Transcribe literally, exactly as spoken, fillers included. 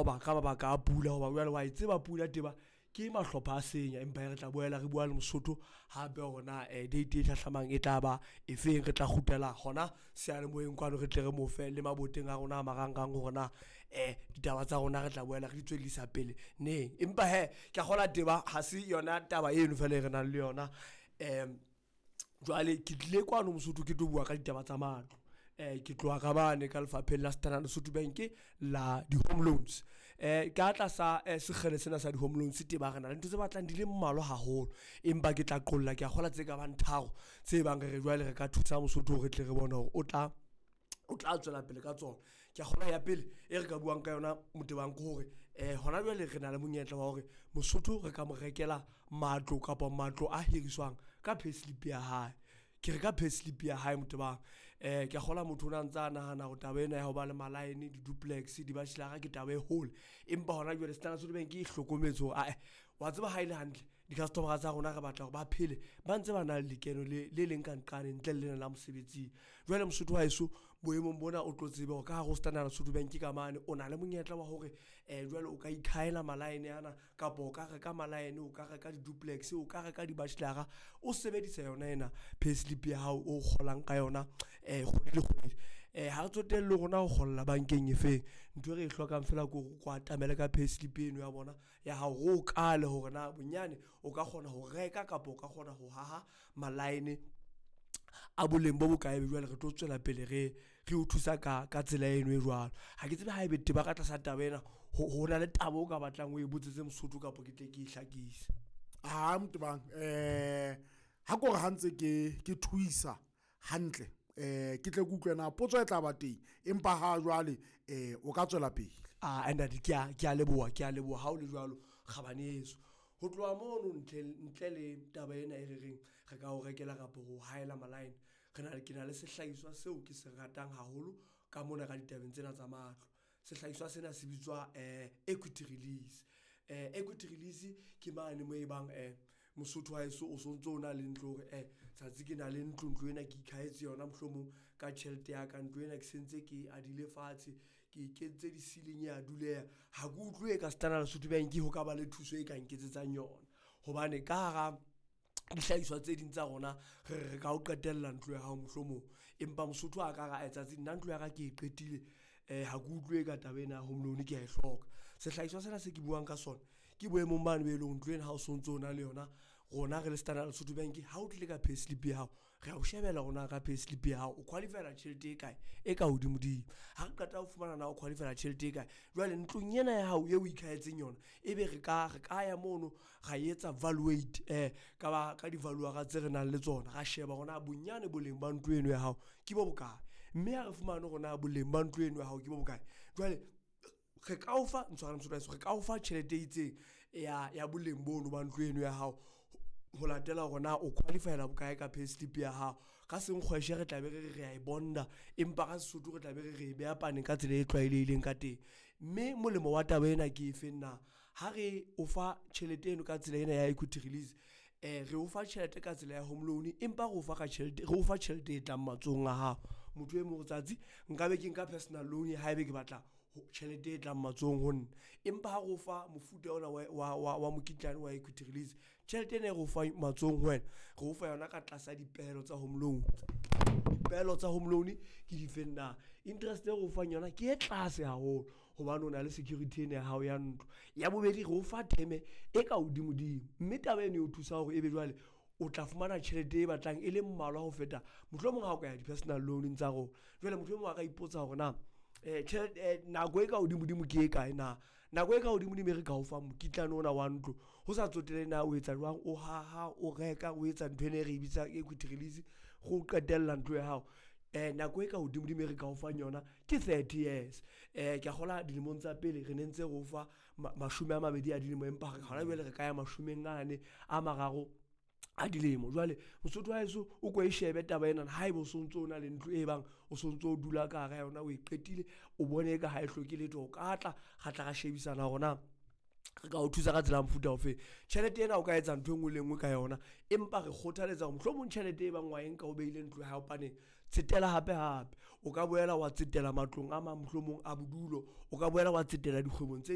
qoba ka mabaka a pula, hoba jwale wa e tseba pula teba ke mahlopha a senya. Empa re tla boela re bua le Mosotho hape hore na date e hlahlamang e tla ba efeng. Re tla kgutlela hona seyalemoyeng kwano, re tle re mo fe le maboteng a rona a marangrang hore na ditaba tsa rona re tla boela re di tswellisa pele neng. Empa hee ke a kgolwa teba ha se yona taba eno fela e re nang le yona. Jwale ke tlile kwano Mosotho ke tlo bua ka ditaba tsa matlo. Ke tloha ka mane ka lefapheng la Standard Lesotho Bank la di-home loans. Ka tlasa sekgele sena sa di-home loans teba re na le ntho tse batlang di le mmalwa haholo. Empa ke tla qolla ke a kgolwa tse kabang tharo tse bang re re jwale re ka thusa Mosotho hore re tle re bone hore o tla, o tla tswela pele ka tsona. Ke a kgolwa ya pele e re ka buang ka yona Motebang ke hore hona jwale re na le monyetla wa hore Mosotho re ka mo rekela matlo kapa matlo a hiriswang ka payslip ya hae. Ke re ka payslip ya hae Motebang. Ke a kgolwa motho o na ntsa nahana hore taba ena ya ho ba le malaene, di-duplex, di-bachelor-a ke taba e hole. Empa hona jwale Standard Lesotho Bank e hlokometse hore ae wa tseba ha ele hantle di-customer-a tsa rona re batla hore ba phele ba ntse ba na le lekeno le le leng ka nqane ntle le lena la mosebetsing. Jwale Mosotho wa heso boemong bona o tlo tsebe hore ka hare ho Standard Lesotho Bank ka mane o na le monyetla wa hore jwale o ka ikhahela malaene ana kapa o ka reka malaene, o ka reka di-duplex, o ka reka di-bachelor-a o sebedisa yona ena payslip ya hao o kgolang ka yona kgwedi le kgwedi. Ha re tsotelle hore na o kgolla bankeng e feng. Ntho e re e hlokang feela ke hore o ko atamele ka payslip eno ya bona ya hao, re o kale hore na bonyane o ka kgona ho reka kapa o ka kgona ho haha malaene a boleng bo bokae. Ebe jwale re tlo tswela pele re re o thusa ka ka tsela eno e jwalo. Ha ke tsebe haebe teba ka tlasa taba ena ho ho na le taba o ka batlang o e botsetse Mosotho kapa ke tle ke e hlakise. Ha Motebang ha ke hore ha ntse ke ke thuisa hantle eh ke tle ke utlwe na potso e tla ba teng, empa ha jwale eh o ka tswela pele. Ah ntate ke a ke a leboha, ke a leboha ha o le jwalo kgabane yeso. Ho tloha mono ntle ntle le taba ena e re reng re ka o rekela kapa ho haela malaene. Re na ke na le sehlahiswa seo ke se ratang haholo ka mona ka ditabeng tsena tsa matlo. Sehlahiswa sena se bitswa equity release. Equity release ke mane moo e bang Mosotho wa heso o sontso o na le ntlo hore tsatsi ke na le ntlo, ntlo ena ke ikhahetse yona mohlomong ka tjhelete ya ka. Ntlo ena ke sentse ke adile fatshe, ke kentse di-ceiling ya duleha. Ha ke utlwe ka Standard Lesotho Bank ho ka ba le thuso e ka nketsetsang yona. Hobane ka hara dihlahiswa tse ding tsa rona re re ka o qetella ntlo ya hao mohlomong. Empa Mosotho a ka re ae tsatsi nna ntlo ya ka ke e qetile ha ke utlwe ka taba ena ya home loan ke a e hloka. Sehlahiswa sena se ke buang ka sona ke boemong bane be leng ntlo ena ha o sontso o na le yona. Rona re le Standard Lesotho Bank ha o tlile ka payslip ya hao, re a o shebela hore na ka payslip ya hao o qualify-ela tjhelete e kae e ka hodimo-dimo. Ha re qeta ho fumana na o qualify-ela tjhelete e kae, jwale ntlong ena ya hao eo o ikhahetseng yona, ebe re ka re ka ya mono ra etsa valuate ka ba ka di-valuer-a tse re nang le tsona. Ra sheba hore na bonyane boleng ba ntlo eno ya hao ke bo bokae, mme ha re fumane hore na boleng ba ntlo eno ya hao ke bo bokae. Jwale re ka o fa ntshwarele Mosotho wa heso, re ka o fa tjhelete e itseng ya ya boleng bono ba ntlo eno ya hao ho latela hore na o qualify-ela bokae ka payslip ya hao. Ka senkgweshe re tla be re re re a e bonda, empa ka Sesotho re tla be re re e beha paneng ka tsela e tlwaelehileng ka teng. Mme molemo wa taba ena ke efeng na? Ha re o fa tjhelete eno ka tsela ena ya equity release re o fa tjhelete ka tsela ya home loan, empa re o fa ka tjhelete, re o fa tjhelete e tlang matsohong a hao. Motho e mong o tsatsi nka be ke nka personal loan haebe ke batla tjhelete e tlang matsohong ho nna. Empa ha re o fa mofuta ona wa wa wa wa mokitlane wa equity release, tjhelete ena e re o fang matsohong ho wena, re o fa yona ka tlasa dipehelo tsa home loan. Dipehelo tsa home loan ke difeng na? Interest e re o fang yona ke e tlase haholo hobane o na le security ena ya hao ya ntlo. Ya bobedi re o fa term-e e ka hodimo-dimo, mme taba eno e o thusa hore ebe jwale o tla fumana tjhelete e batlang e le mmalwa ho feta mohlomong ha o ka ya di-personal loan-eng tsa rona. Jwale motho e mong a ka ipotsa hore na tjhelete nako e ka hodimo-dimo ke e kae na? Nako e ka hodimo-dimo e re ka o fang mokitlane ona wa ntlo, ho sa tsotelehe na o etsa jwang, o haha, o reka, o etsa ntho ena e re e bitsang equity release, re o qetella ntlo ya hao. Nako e ka hodimo-dimo e re ka o fang yona ke thirty years. Ke a kgolwa dilemong tsa pele re ne ntse re o fa mashome a mabedi a dilemo, empa hona jwale re ka ya mashomeng ane a mararo a dilemo. Jwale Mosotho wa heso o ko e shebe taba ena haeba o sontso o na le ntlo e bang o sontso o dula ka hara yona, o e qetile, o bone eka ha e hloke letho. O ka tla ra tla ra shebisana hore na re ka o thusa ka tsela ya mofuta ofeng. Tjhelete ena o ka etsa ntho e nngwe le e nngwe ka yona, empa re kgothaletsa hore mohlomong tjhelete e bang wa e nka o behile ntlo ya hao paneng, tsetela hape hape. O ka boela wa tsetela matlong a mang mohlomong a bodulo, o ka boela wa tsetela dikgwebong tse.